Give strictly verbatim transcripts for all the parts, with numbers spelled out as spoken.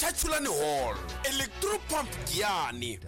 Chachulani Hall, Electropump Giyani.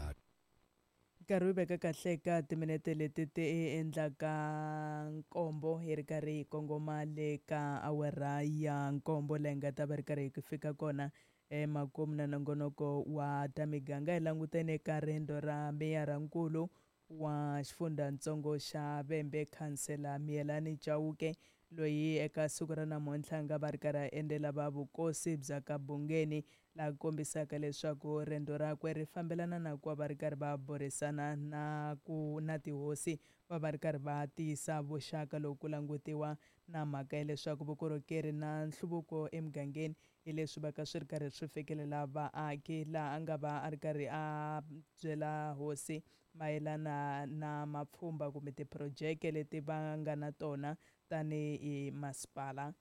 Nkarhi wu veka kahle eka timinete leti ti endlaka nkombo hi ri karhi hi kongoma le ka awara ya nkombo leyi nga ta va ri karhi hi fika kona emakumu na nongonoko wa ta miganga. Hi langutene eka riendzo ra meyarankulu wa xifundzatsongo xa Vhembe, khansela Miyelani Chauke, loyi eka siku ra namuntlha a nga va ri karhi a endzela va vukosi bya ka Bungeni, laha kombisaka leswaku riendzo rakwe ri fambelana na ku va va ri karhi va burisana na ku na tihosi, va va ri karhi va tiyisa vuxaka loko ku langutiwa na mhaka ya leswaku vukorhokeri na nhluvuko emugangeni hi leswi va ka swi ri karhi swi fikelela vaaki. Laha a nga va a ri karhi a byela hosi mayelana na mapfhumba kumbe tiphurojeke leti va nga na tona tanihi masipala.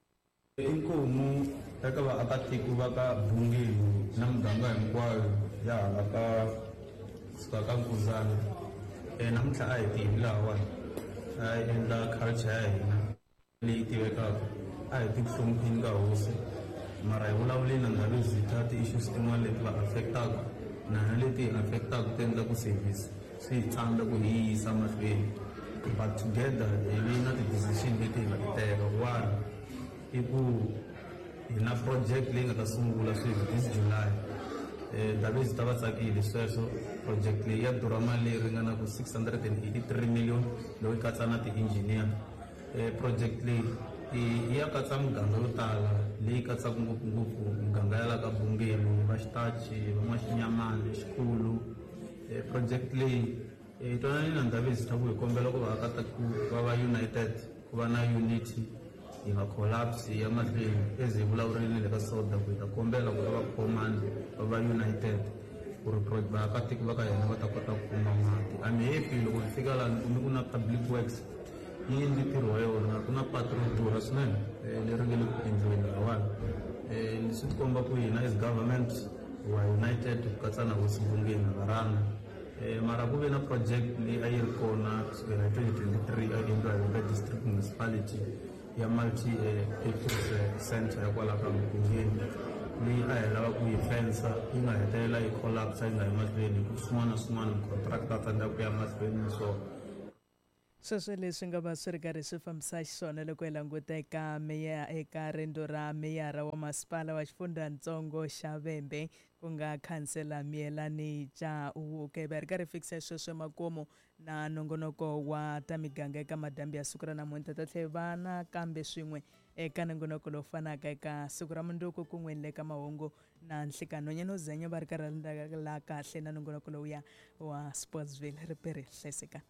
Inkomu eka vaakatiko va ka Bungeni na muganga hinkwayo ya hala ka kusuka ka Nkuzana, namuntlha a hi tivi lahawani, a hi endla culture ya hina leyi tivekaka, a hi ti ku hlonipheni ka hosi, mara hi vulavuleni na Ndabezitha ti-issues tin'wana leti va affect-aka na hina leti hi affect-aka ti endla ku service swi hi tsandza ku hi yisa mahlweni. But together hi vi na ti-decision leti hi nga ti teka. One i ku hi na project leyi nga ta sungula sweswi this July. Ndabezitha va tsakile sweswo. Project leyi ya durha mali leyi ringanaka six hundred and eighty-three million loko yi katsa na ti-engineer. Project leyi yi ya katsa miganga yo tala leyi katsaka ngopfungopfu miganga ya la ka Bungeni, va Xitachi, va N'waxinyamani, Xikhulu. Project leyi hi twanani na Ndabezitha ku hi kombela ku vaakatiko va va united, ku va na unity, hi nga collapse ya mahlweni. As hi vulavurile le ka SODA ku hi ta kombela ku va va khomani va va united ku ri vaakatiko va ka hina va ta kota ku kuma mati. I'm happy loko hi fika laha ni kume ku na public works yi endli ntirho wa yona, ku na patu ro durha swinene leri nga le ku endliweni lahawani. Leswi ti komba ku hina as government we are united ku katsa na hosi Bungeni na varhanga. Mara ku ve na project leyi a yi ri kona kusukela hi twenty twenty-three a yi endliwa hi Vhembe District Municipality ya multi purpose center ya kwala ka Bungeni leyi a hi lava ku yi fensa, yi nga hetelela yi collapse yi nga yi mahlweni hi ku swin'wana na swin'wana contractor a tsandzeka ku ya mahlweni na swona. Sweswo leswi nga va swi ri karhi swi fambisa xiswona loko hi languta eka meya eka riendzo ra meyara wa masipala wa xifundzatsongo xa Vhembe ku nga khansela Miyelani Chauke. Va ri karhi fikisa sweswo emakumu na nongonoko wa ta miganga eka madambi ya siku ra namuntlha. Ta tlhela va nakambe swin'we eka nongonoko lowu fanaka eka siku ra mundzuku kun'we le ka mahungu na nhlikani. Nhwanyana Zenya va ri karhi la kahle na nongonoko lowuya wa Sportsville. Ri peri hlayisekani.